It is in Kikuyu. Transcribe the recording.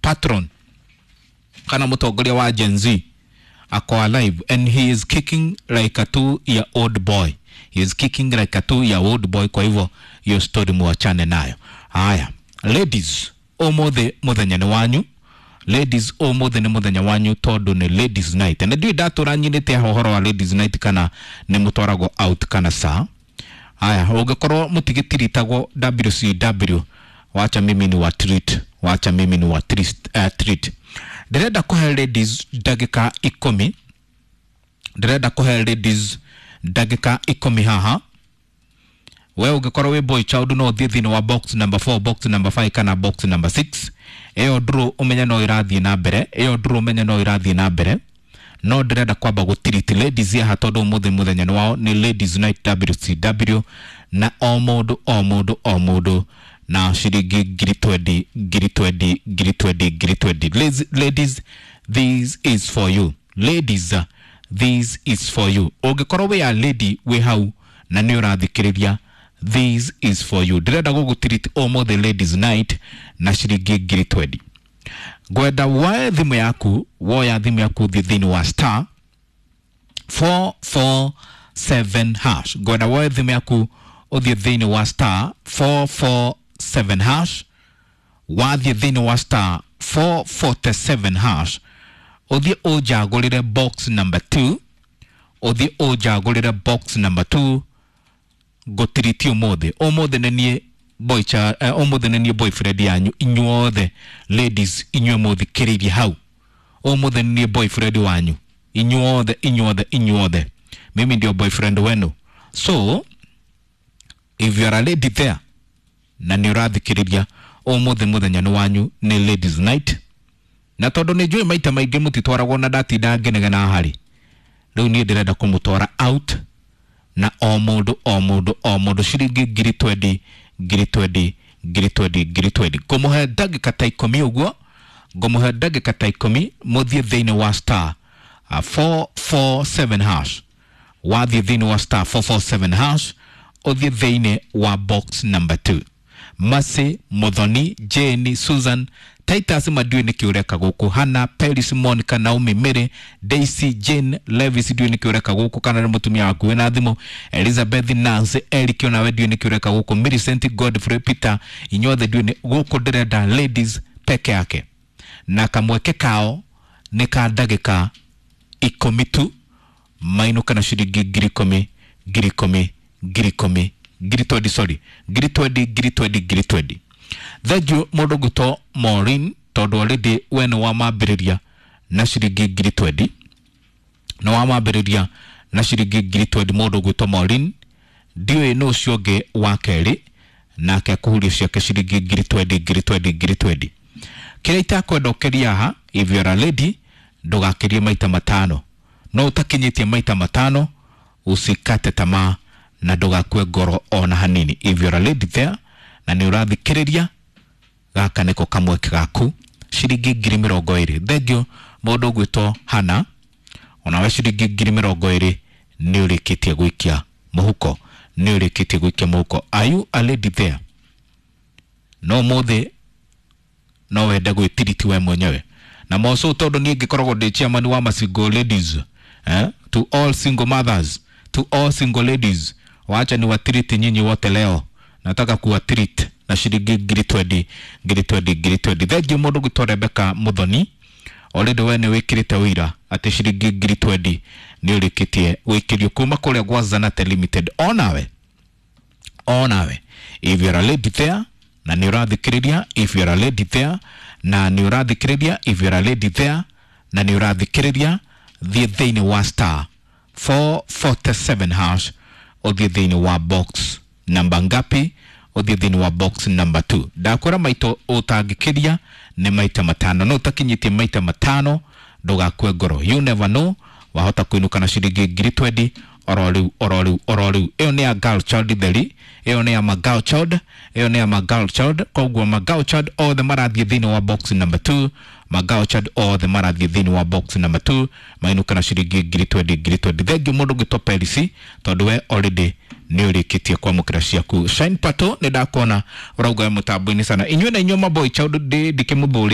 Patron kana mutongoria wa Gen Z ako alive and he is kicking like a 2-year old boy. He is kicking like a 2-year old boy. Kwa hivyo hiyo story muachane nayo. Haya ladies, umuthi muthenya ni wanyu. Ladies, umuthi ni muthenya wanyu tondu ni ladies night. Na ndiũĩ ndatũra nyinĩte haha ũhoro wa ladies night kana nĩ mũtwaragwo out kana saa. Haya, ũngĩkorwo mũtigĩtiritagwo WCW, wacha mimi ni wa treat, wacha mimi ni wa treat, treat. Ndĩrenda kũhe ladies ndagĩka 10. Ndĩrenda kũhe ladies ndagĩka 10 haha. We ũngĩkorwo wĩ boy child no ũthiĩ thĩinĩ wa box number 4, box number 5 kana box number 6. Ĩyo ndũrũ ũmenye no ĩrathiĩ na mbere, ĩyo ndũrũ ũmenye no ĩrathiĩ na mbere. No ndĩrenda kwamba gũtiriti ladies haha tondũ ũmũthĩ mũthenya nĩ wao, nĩ ladies night WCW, na o mũndũ o mũndũ o mũndũ na ciringi ngiri 20, ngiri 20, ngiri 20, ngiri 20. Ladies, ladies, this is for you. Ladies, this is for you. Ũngĩkorwo wĩ a lady wĩ hau na nĩ ũrathikĩrĩria, this is for you. Ndĩrenda gũgũtiriti ũmũthĩ ladies night na ciringi ngiri 20. Ngwenda woe thimũ yaku, woya thimũ yaku thiĩ thĩinĩ wa star 447 hash. Ngwenda woe thimũ yaku ũthiĩ thĩinĩ wa star 447 hash. Wathiĩ thĩinĩ wa star 447 hash, ũthiĩ ũnjagũrĩre box number 2, ũthiĩ ũnjagũrĩre box number 2. Ngũtiriti ũmũthĩ, ũmũthĩ nĩ niĩ boy cha, ũmũthĩ nĩ niĩ boyfriend yanyu inyuothe ladies, inyuĩ mũthikĩrĩirie hau, ũmũthĩ nĩ niĩ boyfriend wanyu inyuothe, inyuothe, inyuothe, mimi ndio boyfriend wenu. So if you are a lady there na nĩ ũrathikĩrĩria, ũmũthĩ mũthenya nĩ wanyu, nĩ ladies night. Na tondũ nĩ njũĩ maita maingĩ mũtitwaragwo na ndatinda ngĩnegena harĩ, rĩu niĩ ndĩrenda kũmũtwara out na o mũndũ o mũndũ o mũndũ ciringi ngiri 20, ngiri 20, ngiri 20, ngiri 20. Ngũmũhe ndagĩka ta 10 ũguo, ngũmũhe ndagĩka ta 10 mũthiĩ thĩinĩ wa star 447 hash. Wathiĩ thĩinĩ wa star 447 hash, ũthiĩ thĩinĩ wa box number 2. Mercy, Muthoni, Jane, Susan, Titus Madiũ nĩkĩ ũreka gũkũ, Hannah, Peris, Monica, Naomi, Mary, Daisy, Jane, Levis ndiũĩ nĩkĩ ũreka gũkũ kana nĩ mũtumia waku wĩna thimũ, Elizabeth, Nancy, Eric onawe ndiũĩ nĩkĩ ũreka gũkũ, Millicent, Godfrey, Peter, inyuothe ndiũĩ nĩ gũkũ. Ndĩrenda ladies peke yake na kamweke kao nĩ ka ndagĩka 10 tu, mainũka na ciringi ngiri 10, ngiri 10, ngiri 10, ngiri 20, sorry, ngiri 20, ngiri 20, ngiri 20. Thengiũ mũndũ ngwĩtwo Maureen tondũ already we nĩ wamambĩrĩria na ciringi ngiri 20, nĩ wamambĩrĩria na ciringi ngiri 20. Mũndũ ngwĩtwo Maureen, ndiũĩ nũ ũcio ũngĩ wa kerĩ nake akũhuria ciake ciringi ngiri 20, ngiri 20, ngiri 20. Kĩrĩa itakwenda ũkĩria haha, if you are a lady, ndũgakĩrie maita matano. No ũtakinyĩtie maita matano, usikate tamaa na ndũgakue ngoro ona hanini. If you are a lady there na nĩ ũrathikĩrĩria, gaka nĩko kamweke gaku, ciringi ngiri 20. Thengiũ mũndũ ũgwĩtwo Hannah, onawe ciringi ngiri 20 nĩ ũrĩkĩtie gũikia mũhuko, nĩ ũrĩkĩtie gũikia mũhuko. Are you a lady there? No mũthĩ no wende gwĩtiriti we mwenyewe na moco, tondũ niĩ ngĩkoragwo ndĩ chairman wa ma single ladies, eh? To all single mothers, to all single ladies, wacha ni watiriti nyinyi wote leo. Nataka kuwa treat na ciringi ngiri 20, ngiri 20, ngiri 20. Thengiũ mũndũ gwĩtwo Rebecca Muthoni, already we nĩ wĩkĩrĩte ũira atĩ ciringi ngiri 20 nĩ ũrĩkĩtie gwĩkĩrio kuma kũrĩa gwa Zanate Limited. Onawe, onawe, if you are a lady there na nĩ ũrathikĩrĩria, if you are a lady there na nĩ ũrathikĩrĩria, if you are a lady there na nĩ ũrathikĩrĩria, thiĩ thĩinĩ wa star 447 hash, ũthiĩ thĩinĩ wa box namba ngapi? Ũthiĩ thĩinĩ wa box number 2. Ndakwĩra maito ũtangĩkĩria nĩ maita matano, no ũtakinyĩtie maita matano ndũgakue ngoro. You never know, wahota kũinũka na ciringi ngiri 20 oro rĩu, oro rĩu, oro rĩu. Ĩyo nĩ ya girl child theri, ĩyo nĩ ya ma girl child, ĩyo nĩ ya ma girl child. Koguo ma girl child othe marathiĩ thĩinĩ wa box number 2, ma girl child othe marathiĩ thĩinĩ wa box number 2 mainũka na ciringi ngiri 20, ngiri 20. Thengiũ mũndũ ũgwĩtwo Perisi tondũ we already nĩ ũrĩkĩtie kwamũkĩra ciaku. Shine Pato, nĩ ndakuona ũrauga wĩ mũtambo-inĩ sana. Inyuĩ na inyuĩ maboy child ndĩkĩmũthũrĩte.